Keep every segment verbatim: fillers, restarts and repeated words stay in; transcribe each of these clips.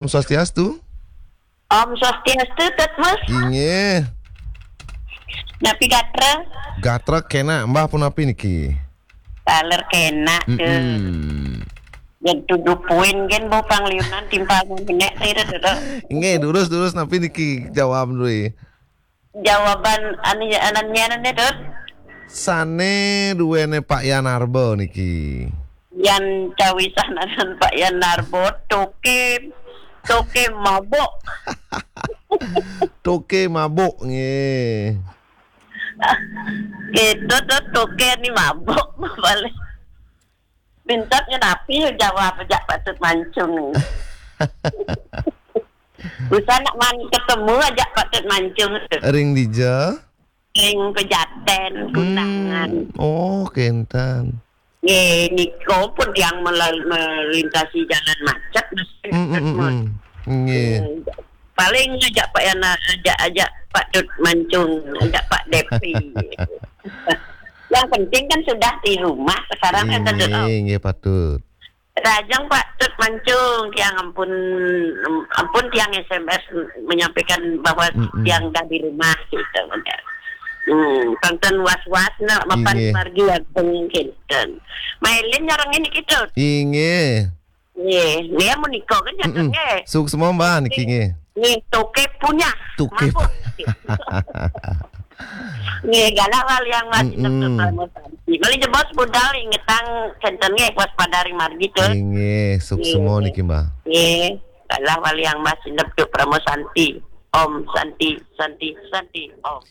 Swastiastu. Om Swastiastu, Tut Mus. Inggih. Napi gatra? Gatra kena, Mbah, punapi niki? Taler kena, Tut. Mm-mm. Yen tuduh puin gen bau pangliunan timpal menek tira, Tut. Inggih, durus, durus, napi niki jawab dulu? Jawaban anu, anannya nane, Tut. Sane duwene Pak Yan Arba niki. Yan cawisan anan Pak Yan Arba, toke, toke mabuk. Toke mabuk, nggih. Gitu, Tut, toke ni mabuk, balik. Pintat ngenapi jawab ajak Pak Tut Mancung ni. Usah nak man ketemu ajak Pak Tut Mancung tu. Ring dija? Ring Pejaten, Kundangan. Hmm. Oh, kenten. Nggih, nika pun tiang melal-, melintasi jalan macet, mesti Hmm, hmm, hmm, hmm. Nggih. Hmm. Paling ajak Pak Yana, ajak, ajak Pak Tut Mancung, ajak Pak Depi. Yang penting kan sudah di rumah, sekarang kan Tut, oh. Nggih, nggih, Pak Tut. Rajang Pak Tut Mancung, tiang ampun, ampun tiang S M S menyampaikan bahwa Mm-mm. tiang dah di rumah, gitu. Hmm, tonton was-was nak mapan Inggih. Margi Agung kinten. Mailin nyarang ini gitu. Inggih. Nggih, dia menikah kan Mm-mm. jatuhnya. Suksma, Mbah, niki nggih. Nggih, toke punya. Toke. Mabuk. Nggih, galah wali yang masih Mm-mm. Doktor Pramo Santi. Mali jebos budal ingetang kenten nggih waspada ring margi, Tut. Inggih, suksma Nggih. niki, Mbah. Nggih, galah wali yang masih Doktor Pramo Santi. Om Santi, Santi, Santi, Om.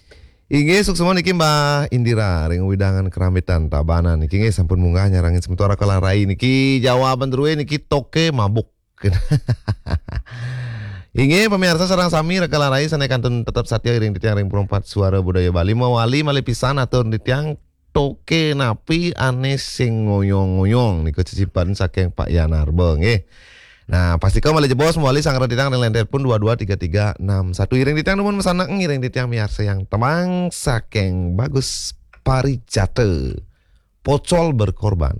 Inggih, suksma niki Mbah Indira ring wewidangan Kerambitan Tabanan. Niki nggih sampun munggah nyarengin semeton Raka Larai niki jawaban druwe niki toke mabuk. Inggih, pamirsa sareng sami Raka Larai sane kantun tetep satia iring titiang ring Perempat Suara Budaya Bali. Mawali malih pisan atur titiang toke napi ane sing ngoyong-ngoyong niku cicipen saking Pak Yan Arba nggih. Nah, pastika malih jebos mawali sareng titiang ring line telepon dua dua tiga tiga enam satu. Iring titiang nuwun masandekan, iring titiang miarsayang tembang saking Bagus Parijata, Pocol Berkorban.